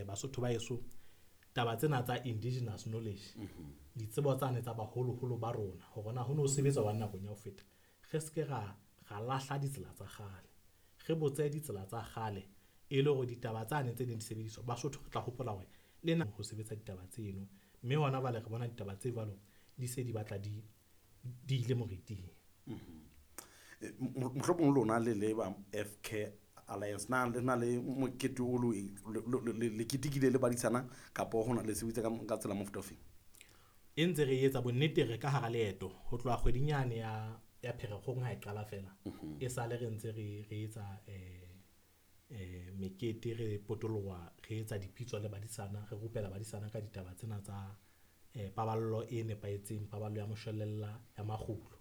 Basotho ba heso, taba tsena tsa indigenous knowledge, ditsebo tsane tsa baholoholo ba rona hore na ho no sebetsa jwang nakong ya ho feta, re se ke ra lahla ditsela tsa kgale. Re botse ditsela tsa kgale e le hore ditaba tsane tse neng di sebediswa, Basotho re tla hopola hore le na ho sebetsa ditaba tseno. Mme hona jwale re bona ditaba tse jwalo di se di batla di ile moriting. Mohlomong lona le le ba FK Alliance, na le na le mokete o le ketekile le badisana kapa hona le sebetsa ka tsela mofuta ofeng? E ntse re etsa bonnete, re ka hara leeto ho tloha kgweding yane ya Pherekgong ha e qala fela. E sale re ntse re etsa mekete, re potoloha, re etsa dipitso le badisana, re rupela badisana ka ditaba tsena tsa paballo e nepahetseng, paballo ya moshwelella ya makgulo.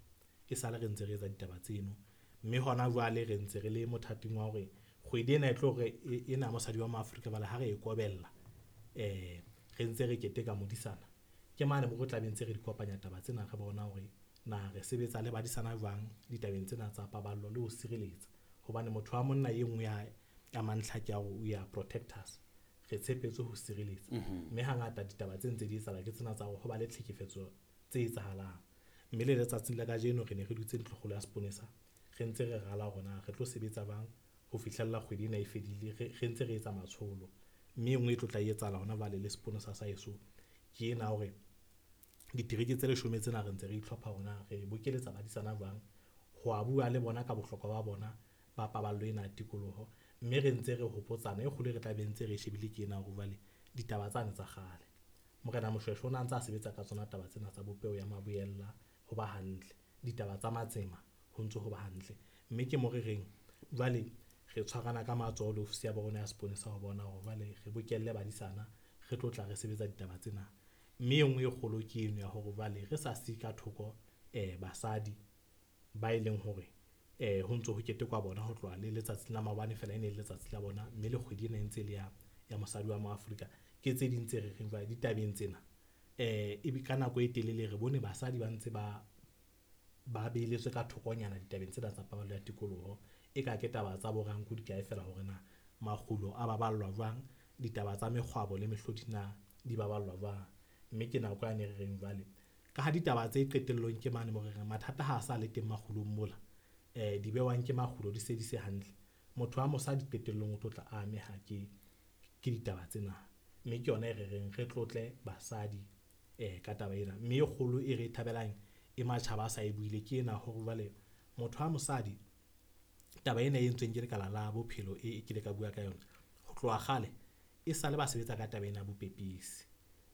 E sale re ntse re etsa ditaba tseno, mme hona jwale re ntse re le mothating wa hore kgwedi ena e tlo re ena mosadi wa Maafrika bale ha re e kobella, re ntse re keteka modisana. Ke mane mo re tla be ntse re di kopanya taba tsena, re bona hore na re sebetsa le badisana jwang ditabeng tsena tsa paballo le ho sireletsa. Hobane motho wa monna e nngwe ya mantlha ke ya hore we are protectors, re tshepetse ho sireletsa. Mme hangata ditaba tse ntse di etsahala ke tsena tsa hore ho ba le tlhekefetso tse etsahalang. Mme le letsatsing la kajeno re ne re dutse ntlokgolo ya seponesa, re ntse re rala hore na re tlo sebetsa jwang ho fihlella kgwedi ena e fedile, re ntse re etsa matsholo. Mme e nngwe e tlo tla etsahala hona jwale le seponesa sa heso ke ena hore ditereke tse 10 tsena re ntse re itlhopha hore na re bokeletsa badisana jwang ho a bua le bona ka bohlokwa ba bona ba paballo ena ya tikoloho. Mme re ntse re hopotsana, e kgolo e re tla be ntse re shebile ke ena hore jwale ditaba tsane tsa kgale Morena Moshweshwe o na ntse a sebetsa ka tsona taba tsena tsa bopeho ya maboella ho ba hantle, ditaba tsa matsema ho ntso ho ba hantle. Mme ke mo re reng jwale re tshwarana ka matsoho le ofisi ya borona ya seponesa ho bona hore jwale re bokelle badisana, re tlo tla re sebetsa ditaba tsena. Mme e nngwe e kgolo ke eno ya hore jwale re sa siye ka thoko basadi ba e leng hore ho ntso ho ketekwa bona ho tloha le letsatsing la maobane fela e ne le letsatsi la bona, mme le kgwedi ena e ntse le ya mosadi wa Moafrika. Ke tse ding tse re reng jwale ditabeng tsena ebe ka nako e telele re bone basadi ba ntse ba beheletswe ka thokonyana ditabeng tsena tsa paballo ya tikoloho. E ka ke taba tsa bo ranku di kae fela hore na makgulo a baballwa jwang, ditaba tsa mekgwabo le mehlodi na di baballwa jwang. Mme ke nako yane re reng jwale ka ha ditaba tse qetellong ke mane mo re reng mathata ha a sa le teng makgulong mola, di bewang ke makgulo di se di se hantle, motho wa mosadi qetellong o tlo tla ameha ke ditaba tsena. Mme ke yona e re reng re tlotle basadi ka taba ena. Mme e kgolo e re e thabelang e matjhaba a sa e buile ke ena hore jwale motho wa mosadi, taba ena e entsweng ke lekala la bophelo e kile ka bua ka yona ho tloha kgale, e sale ba sebetsa ka taba ena ya bopepisi.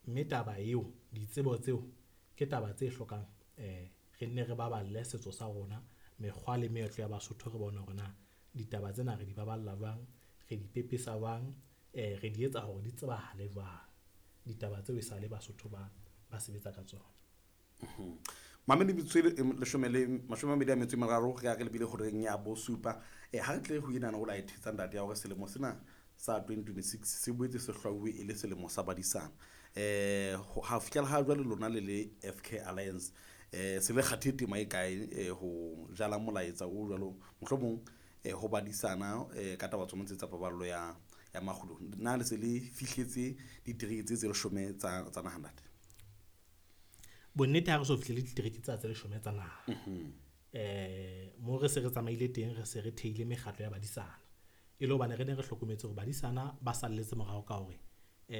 Mme taba eo, ditsebo tseo ke taba tse hlokang re nne re baballe setso sa rona, mekgwa le meetlo ya Basotho, re bone hore na ditaba tsena re di baballa jwang, re di pepesa jwang, re di etsa hore di tsebahale jwang. Ditaba tseo e sale Basotho ba sebetsa ka tsona. Mamedi metsotso 23 re ya re lebile horeng ya bosupa. Ha re tle ho ena o la e thetsa ntate ya hore selemo sena sa 2026 se boetse se hlwauwe e le selemo sa badisana. Ha fihlela ha jwale lona le le FK Alliance se le kgathe tema e kae ho jala molaetsa o jwalo mohlomong ho badisana ka taba tsona tse tsa paballo ya makgulo? Na le se le fihletse ditereke tse 10 tsa naha ntate? Bonnete ha re so fihlele ditereke tsa tse 10 tsa naha. Mo re se re tsamaile teng, re se re theile mekgatlo ya badisana. E le hobane re ne re hlokometse hore badisana ba salletse morao ka hore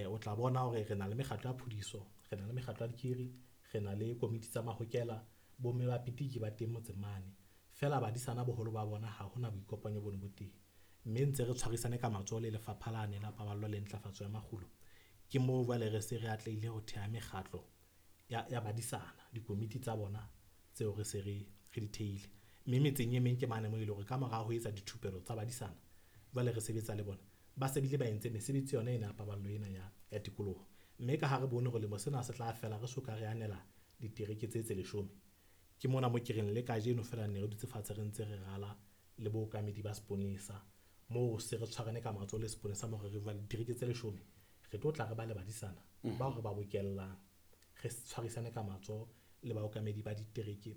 o tla bona hore re na le mekgatlo ya phudiso, re na le mekgatlo ya dikiri, re na le komiti tsa mahokela, bomme ba pitiki ba teng motseng mane. Fela badisana boholo ba bona ha hona boikopanyo bono bo teng. Mme ntse re tshwarisane ka matsoho le lefapha lane la paballo le ntlafatso ya makgulo. Ke moo jwale re se re atlehile ho theha mekgatlo ya badisana, dikomiti tsa bona tseo re se re di theile. Mme metseng e meng ke mane moo e leng hore ka mora ho etsa dithupelo tsa badisana, jwale re sebetsa le bona, ba se bile ba entse mesebetsi yona ena ya paballo ena ya tikoloho. Mme ka ha re bone hore lemo sena se tla fela re soka re anela ditereke tse 10, ke mona mo ke reng le kajeno fela ne re dutse fatshe re ntse re rala le bookamedi ba seponesa, moo se re tshwarane ka matsoho le seponesa mo re jwale ditereke tse 10 re tlo tla re ba le badisana bao re ba bokellang, re tshwarisane ka matsoho le baokamedi ba ditereke